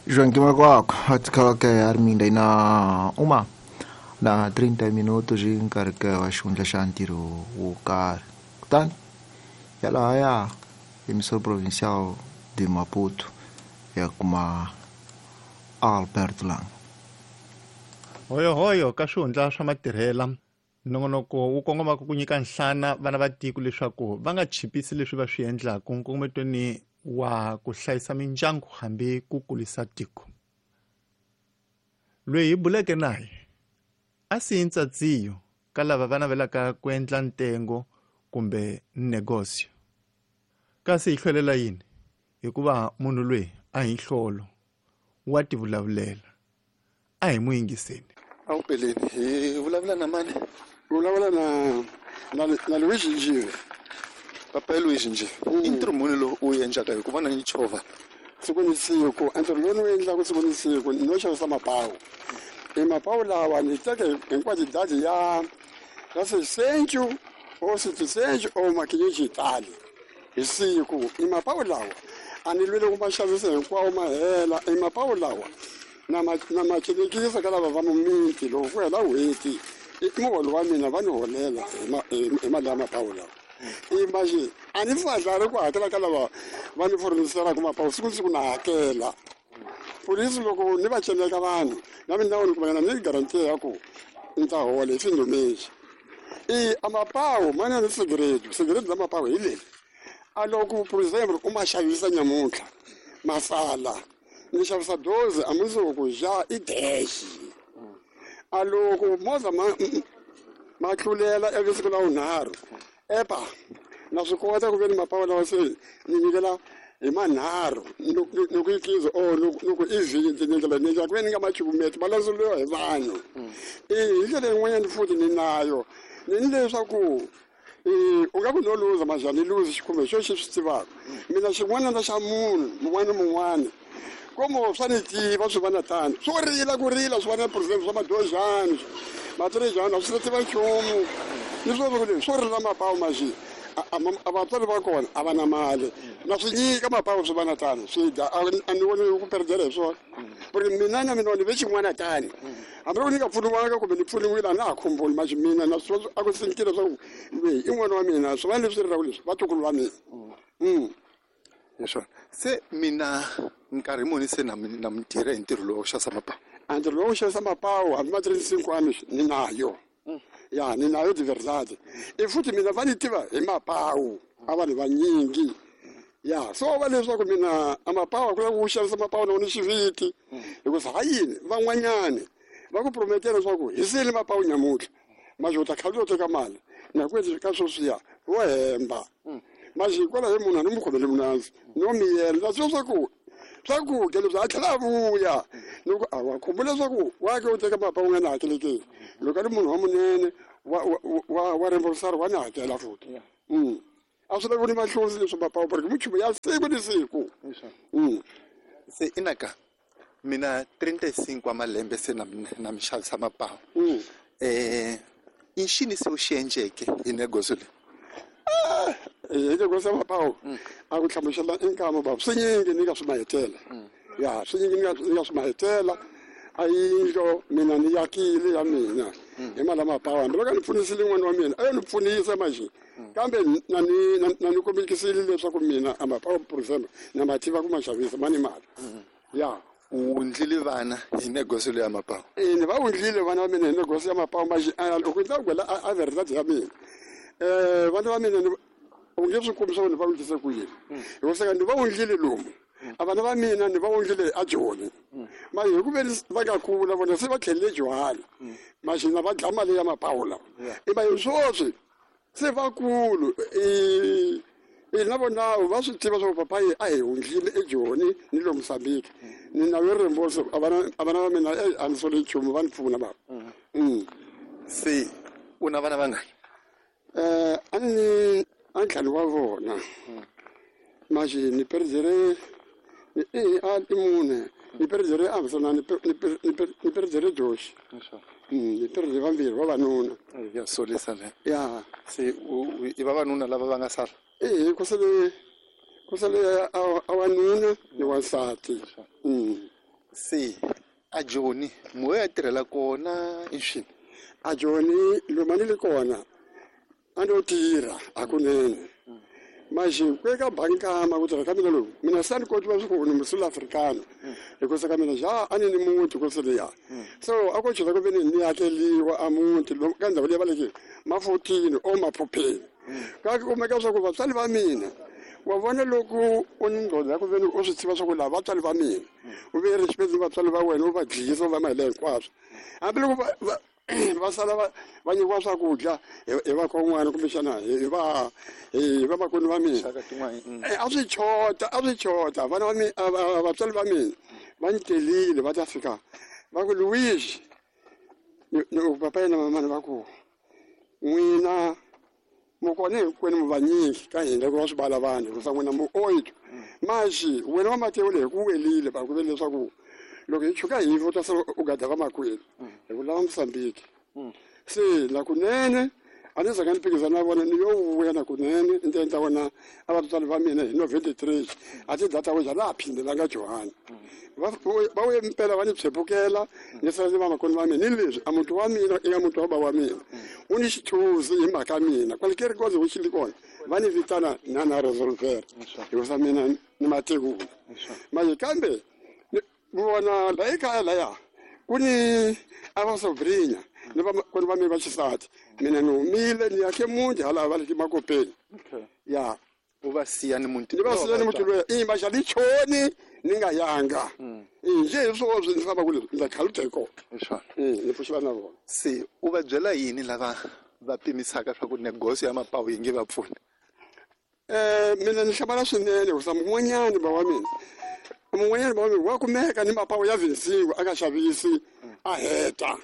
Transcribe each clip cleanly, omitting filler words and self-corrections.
Joaquim Maguaco, atikhalake Arminda ina uma na 30 minutos hi nkarhi wa xihundla xa ntirho wo karhi. Kutani yalahaya emissora provincial de Maputo ya kuma Albert Lang. Hoyohoyo ka swihundla swa matirhela nongonoko wu kongomaka ku nyika nhlana vana va tiko leswaku va nga chipisi leswi va swi endlaka nkongometweni wa ku hlayisa mindyangu hambi ku kulisa tiko. Loyi hi buleke naye a siyi ntsatsiyo ka lava va navelaka ku endla ntengo kumbe negosio. Kasi hi hlwelela yini? Hikuva munhu loyi a hi nhlolo, wa tivulavulela. A hi n'wi yingiseni. A wu peleni hi vulavula na mani? Vulavula na Luis Njive. Papa Luis Njive. I ntirho muni lowu u wu endlaka hi ku vona ni chovha? Siku ni siku, ntirho lowu ni wu endlaka siku ni siku ni no xavisa mapawu. I mapawu lawa ni teke hinkwato dadi ya 600 o 700 o makinyeji tali hi siku. I mapawu lawa a ni lwele ku ma xavisa hinkwawo ma hela. I mapawu lawa na ma celekisa ka lava va mumiti loko ku hela n'hweti i muholo wa mina va ni holela hi mali ya mapawu lawa. I maxi a ni fadlari ku hakela ka lava va ni furniselaka mapawu siku ni siku na hakela. Polisi loko ni va celeka vanhu na mina ni kumanyana ni garantiya ya ku ni ta hola hi findumexi. I a mapawu ma na ni sigarete, sigarete la mapawu hi leri. A loko for example u ma xavisa nyamuntlha masala ni xavisa dozi a mundzuku ja i dash. A loko movha ma tlulela ivi siku la vunharhu epa na swi kota ku ve ni mapawu lawa se ni nyikela hi manharhu ni ku ikiza or ni ku i vhiki ni ndlela ni endlela ku ve ni nga ma cukumeti ma landzeriwa hi vanhu. I hi ndlela yin'wanyana futhi ni nayo ni ni leswaku u nga ku no luza manje ni luzi xikhumbe xo xi swi tivaka mina xin'wana na xa munhu mun'wana ni mun'wana komo swa ni tiva swi va na tano swo rila ku rila swi va na percent swa madozhani matirejani a swi tiva nchumu ni swo ku leswi swo rila mapawu manje a vatswari va kona a va na mali na swi nyika mapawu swi va na tano swi dya a ni voni ku perdela hi swona ku ri mina na mina ni ve xin'wana tani hambi loko ni nga pfuniwanga kumbe ni pfuniwile a na ha khumbuli manje mina na swi a ku sinkile leswaku loyi i n'wana wa mina swi va leswi rilaka leswi vatukulu va mina. Hi swona se mina nkarhi muni se na mi tirha hi ntirho lowu wa ku xavisa mapawu? A ntirho lowu wa ku xavisa mapawu hambi ma 35 ni nayo. Ya ni nayo de verdade. I futhi mina va ni tiva hi mapawu a vanhu vanyingi. Ya so va leswaku mina a mapawu ku lava ku xavisa mapawu na ni xiviti hikuva ha yini van'wanyani va ku prometela leswaku hi sele mapawu nyamuntlha manje u ta kha u teka mali na ku endla ka sweswiya vo hemba manje hikwalaho munhu a ni mu khomele munandzu no miyela na swi swa ku swakudya leswi a tlhela a vuya loko a wa khumbula leswaku wa ke u teka mapawu nga ni hakelekeni loko a ri munhu wa munene wa remborsari wa ni hakela futhi. A swi lavi ni mahlozi leswi mapawu porque minchumu ya siku ni siku. Se inaka mina 35 wa malembe se na mi xavisa mapawu. I xini se u xi endleke hi negoso leyi? Hi negoso ya mapawu a ku hlamusela i nkama bava swi nyingi ni nga swi mahetela. Ya swi nyingi ni nga swi mahetela a yindlo mina ni yakile ya mina hi mali ya mapawu hambi loko a ni pfunisile n'wana wa mina a yo ni pfunisa manje kambe na ni kombekisile leswaku mina a mapawu for example na ma tiva ku ma xavisa ma ni mali. Ya u wundlile vana hi negoso leyi ya mapawu? Ni va wundlile vana va mina hi negoso ya mapawu manje loko ni ta gwela a verdade ya mina vana va mina u nge swi kumi swa ku ni va wundlise ku yini hikuva ni va wundlile lomu a vana va mina ni va wundlile a Joni manje hi ku ve va nga kula vona se va tlhelele Johani manje na va dla mali ya mapawu lawa i manje sweswi se vakulu i na vona va swi tiva swa ku papayi a hi wundlile eJoni ni le Mozambique ni na yo remboso a vana va mina a ni sole nchumu va ni pfuna bava. Se u na vana vangani? A ni a ntlhanu wa vona manje ni perdere i mune ni perdere a hisana ni perdere Joshi. Ni perdere vambirhi vavanuna. Ya solisa le. Ya se i vavanuna lava va nga sala? Ku sale a wanuna ni wansati. Se a Joni mo ya tirhela kona i swini? A Joni loma ni le kona a no tirha hakunene. Manje ku eka bankama ku tirha ka mina loku mina se a ni kotiwa swa ku ni musula africano hikusa ka mina ja a ni ni muti ku liya. So a ko chela ku ve ni ni akeliwa a muti ka ndhawu leyi va leke mafotini o maphupheni. Ka kumeka swa ku vatswari va mina wa vona loko u ni ngqondo ya ku ve ni u swi tiva swa ku lava vatswari va mina u ve respect vatswari va wena u va dlisa u va mahela hinkwaswo hambiloko va sala va nyikiwa swakudya hi vakon'wana kumbexana hi va hi vamakwenu va mina. A swi chota vana va mina vatswari va mina va ni telile va ta fika va ku Luigi ni papa yena mamana va ku n'wina mukona hinkwenu mu vanyingi ka hina ku va swi vala vanhu hikusa n'wina mu oito maxi wena wa Matewu leyi ku welile va ku ve leswaku loko hi chuka hi u ta sala u gada vamakwenu hi ku lava Mosambiki. Se la kunene a ni zanga ni phikizana na vona ni yo vuya na kunene ni ta endla vona a vatswari va mina hi 93 a ti data ja laha phindelanga Johani va vuye mpela va ni pshepukela ni sala ni vamakwenu va mina ni leswi a muti wa mina i nga muti wa bava wa mina u ni xithuzi hi mhaka mina kwale ke ri koze wu xili kona va ni vitana na na resolver hikusa mina ni matekula manje kambe vona la ekaya laya ku ni a va sobrinya ni vamakwenu va mina va xisati mina ni humile ni yakhe muti hala va le makopeni ya u va siya ni muti ni va siya ni muti loyi i maxa ni choni ni nga yanga nje hi swoswi ni famba kule ndza khalute kona ni pfuxiva na vona. Se u va byela yini lava va pimisaka swa ku negosi ya mapawu yi nge va pfuni? Mina ni hlamala swinene hikusa mun'wanyani ba wa mina mun'wanyani ba wa mina wa kumeka ni mapawu ya vinsingo a nga xavisi a heta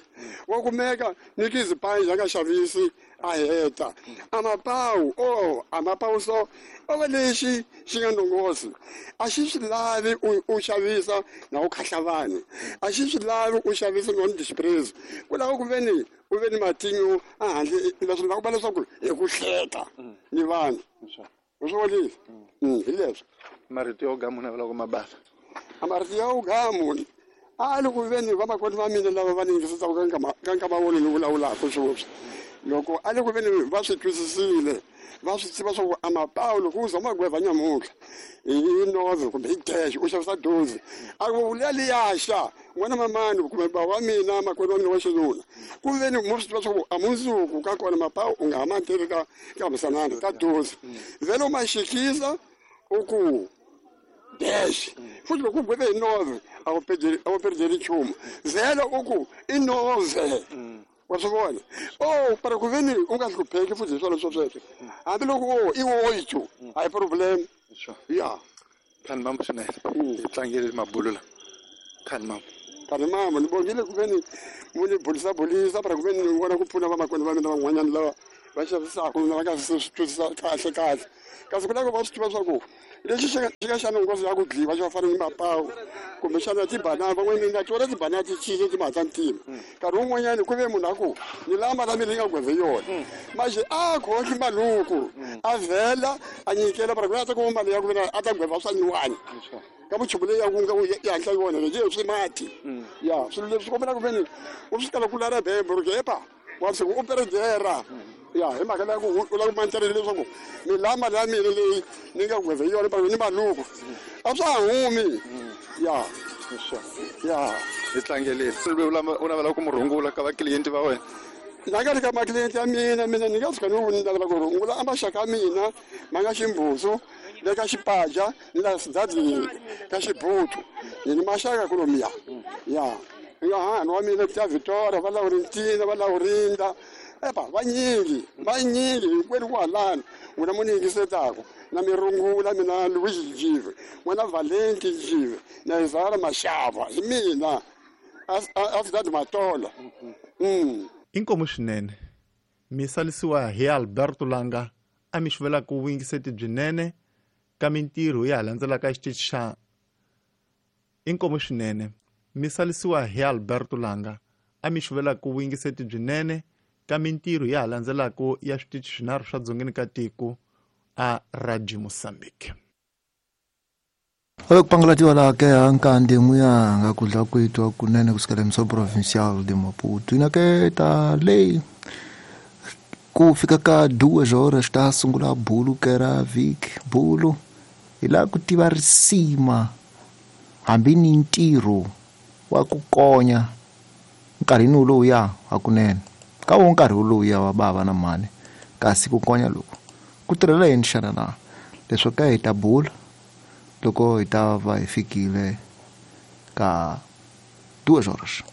wa kumeka ni kizipanji a nga xavisi a heta a mapawu o a mapawu so o va lexi xi nga ndongosi a xi swi lavi u xavisa na u khahla vanhu a xi swi lavi u xavisa na u ni dispraise ku lava ku ve ni u ve ni matinyo a handle leswi lava ku va leswaku hi ku hleka ni vanhu u swi vonile hi leswi marito yo gamu na loko mabasa a marito yo gamu a loko ve ni vamakwenu va mina lava va ni yingisisaka ka nkama wona ni vulavulaka sweswi loko a loko ve ni va swi twisisile va swi tiva swa ku a mapawu loko u za magweva nyamuntlha hi nove kumbe hi dash u xavisa dozi a ku liya liyaxa n'wana mamani kumbe ba wa mina makwenu wa mina wa xinuna ku ve ni mo swi tiva swa ku a mundzuku ka kona mapawu u nga ha ma teki ka hamisanani ka dozi vhele u ma xikisa u ku dash futhi loko u gweve hi nove a wu perdeli nchumu vhele u ku i nove wa swi vona o para ku ve ni u nga hlupheki futhi hi swona swo sweswo hambiloko o i oito a hi problem ya khani mambo swinene hi tlangele mabulu la khani mambo khani mambo ni bongile ku ve ni mu ni bulisa bulisa para ku ve ni vona ku pfuna vamakwenu va mina van'wanyana lava va xavisaka na va nga swi twisisa kahle kahle kasi ku lava va swi tiva swa ku lexi xi nga xa nongozi ya ku dliwa xi va fana ni mapawu kumbexana tibanana van'wanyana na tona tibanana ti cince timhaka ta ntima nkarhi wun'wanyani ku ve munhu a ku ni lama la mina yi nga gweve yona manje a khohli maluku a vhela a nyikela para ku a ta kuma mali ya ku vena a ta gweva swa nyuwani ka vuchumu leyi ya ku nga yi hatla yona lexi swi mati ya swilo leswi kombela ku veni u swi kala ku lala bembo ri kepa wa swi u peredera ya hi mhaka leyi ku u lava ku mantelele leswaku ni la mali ya mina leyi ni nga gweve yona para ni maluku a swa ha humi ya ya hi tlangeleni u navela ku mu rhungula ka vakliyenti va wena na nga ri ka makliyenti ya mina mina ni nga tshuka ni navela ku rhungula a maxaka ya mina ma nga ximbuzu le ka xipaja ni la sidadini ka xibutu ni ni maxaka kulomiya ya nga hahani wa mina ta Victoria va Laurentina va Laurinda epa vanyingi vanyingi hinkwenu kwalano n'wina mu ni yingisetaka na mi rungula mina Luigi Njive n'wana Valenti Njive na Izara Mashava hi mina a Sidadi Matola. Inkomu swinene mi salisiwa hi Alberto Langa a mi xuvelaka vuyingiseti byinene ka mintirho ya ha landzelaka xitichi xa inkomu swinene mi salisiwa hi Alberto Langa a mi xuvelaka vuyingiseti byinene ka mintirho ya ha landzelaka ya switichi swinharhu swa dzongeni ka tiko a Radio Mozambique. Olokupangulatiwa la ke ankande n'wiyanga kudla kwethu kunene kusukela emso provincial de Maputo ina ke ta lei ku fika ka 2 horas ta sungula bulu ke ra vhiki bulu hi laha ku tiva risima hambi ni ntirho wa ku konya nkarhini wulowuya hakunene ka wo nkarhi wulowuya wa bava na mhani kasi ku konya loku ku tirhela yini xana na leswo ka hi ta bula loko hi ta va hi fikile ka 2 horas.